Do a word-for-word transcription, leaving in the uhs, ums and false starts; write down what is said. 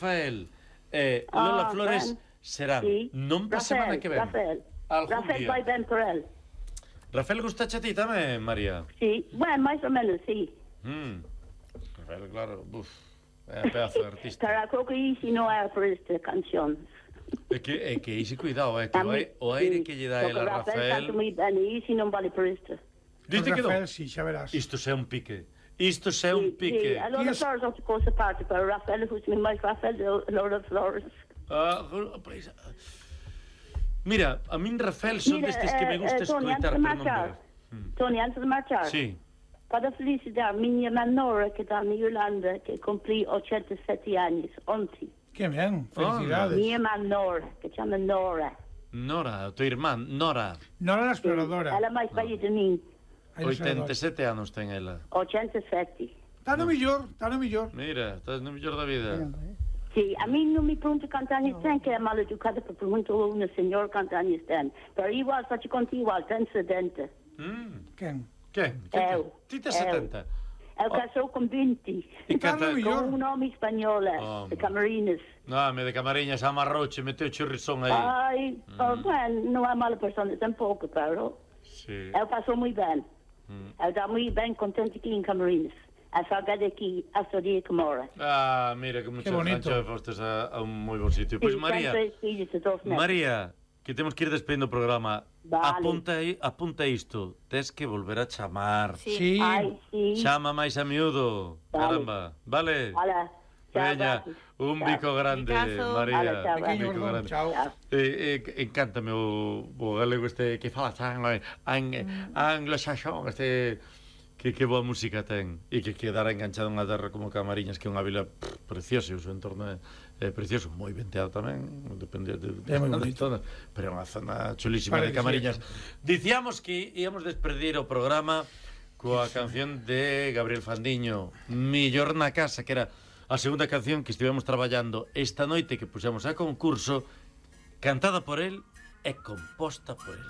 Rafael e Lola Ah, Flores ben. serán Sí. non pa semana que ven. Rafael, Algún Rafael día. vai ben por el. Rafael gustache a ti tamén, María? Sí, bueno, máis ou menos, sí. Mm. Rafael, claro, buf, é un pedazo de artista. Pero creo que Easy non é por esta canción. É que, é que ese cuidado, é que o aire, o aire que lle dá el a Rafael canta Rafael... moi ben, e Easy non vale por isto. Diste que non? Rafael, sí, xa verás. Isto é un pique. Isto é un Sí, pique. a Lola Yes. Flores outra cousa parte, pero Rafael gusta máis Rafael de Lola Flores. Ah, pois, mira, a min Rafael son Mira, destes que me eh, gusta eh, Tony, escoitar, antes de pero non marchar, ver. Mm. Tony, antes de marchar, Sí. para felicitar a miña irmã Nora, que está na Irlanda, que cumprí ochenta e sete anos, ontem. Que ben, felicidades. Minha irmã Nora, que chama Nora. Nora, o teu irmán, Nora. Nora la exploradora. Ela é máis velha de mim, Aí la oitenta e exploradora. sete anos ten ela. ochenta e sete. Está no millor, está no millor. Mira, estás no mellor da vida. Sí, a mí non me pergunta cantos anos ten, que é mal educada, pero perguntou a unha senhora cantos anos ten. Pero igual, faço contigo igual, ten setenta. Mm. Quen? Que? Eu. Ti tes Eu. setenta? Eu casou con vinte, E Está canta no millor. con un home español, Oh, de Camarines. No, me de Camariñas amarrouche, meteu chirrizón aí. Ai, oh, bueno, non é mala persona tampouco, pero Sí. eu pasou moi ben. Mm. Eu está moi ben contente aquí en Camarines. A saudade aquí, a saudade que mora. Ah, mira, que muchas bonito. gracias fostes a, a un moi bon sitio. Pois Sí, María, ten tres fillos e dos netos. María, que temos que ir despedindo o programa. Vale. Apunta aí, apunta isto. Tes que volver a chamar. Sí. Ai, sí. Chama máis a miúdo. Vale. Caramba, vale? Hola. Chao, Veña, gracias. un Chao. bico grande, Bicazo. María. Hola, chao, Un Pequeño bico gordón, grande. chao. Chao. Eh, eh, encántame o, o galego este que fala tan ang, anglo-saxón, este que, que boa música ten e que quedara enganchado en unha terra como Camariñas, que é unha vila pff, preciosa, e o seu entorno é, é precioso, moi venteado tamén, depende de, de, É moi de bonito. zona, pero é unha zona chulísima de Parece Camariñas. Dicíamos que íamos despedir o programa coa canción de Gabriel Fandiño, Millor na casa, que era a segunda canción que estivemos traballando esta noite, que puxemos a concurso, cantada por el e composta por el.